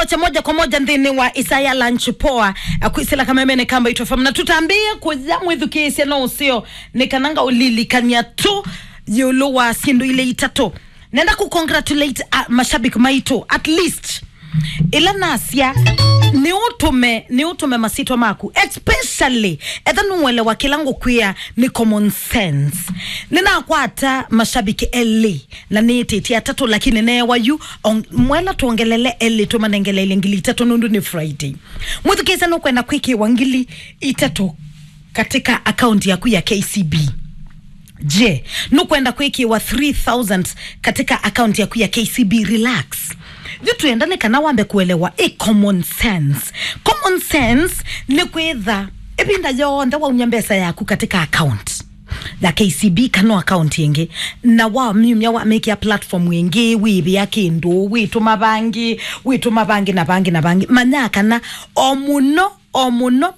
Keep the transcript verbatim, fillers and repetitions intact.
Cha moja kwa moja nthĩnĩ wa Isaya Lunch Poa, akwĩsĩla kamemene ka Mbaitũ F M, na tũtambĩĩe kũya mwĩthukĩĩsya no ũseo, nĩ kana ngaũlilikany'a tu ĩũlũ wa syĩndũ ilĩ itatũ. Nenda ku congratulate, uh, mashabiki maitũ, at least ĩla nasya nĩ ũtũme, nĩ ũtũme masitwa maku, especially etha nũelewa kĩla ngũkwĩa nĩ common sense. Nĩnakwata mashabiki elĩ na nĩĩtĩtye atatũ, lakini neewa yu, ong-, mwela twongelele elĩ, tũmanengele ngili itatũ nũndũ nĩ Friday. Mwĩthukĩĩsya nũkwenda kwĩkĩwa ngili itatũ katika akaunti yaku ya K C B. Je, nũkwenda kwĩkĩwa three thousand katika akaunti yaku ya K C B? Relax. Yu twenda nĩ kana wambe kuelewa ĩ common sense. Common sense nĩ kwĩtha ĩvinda yonthe waumya mbesa yaku katika account ya K C B kana account ĩngĩ, na wamyumya wamĩkĩa platform ĩngĩ, wĩvĩa kĩndũ, wĩtũma vangĩ, wĩtũma vangĩ na vangĩ na vangĩ, manya kana o mũno, o mũno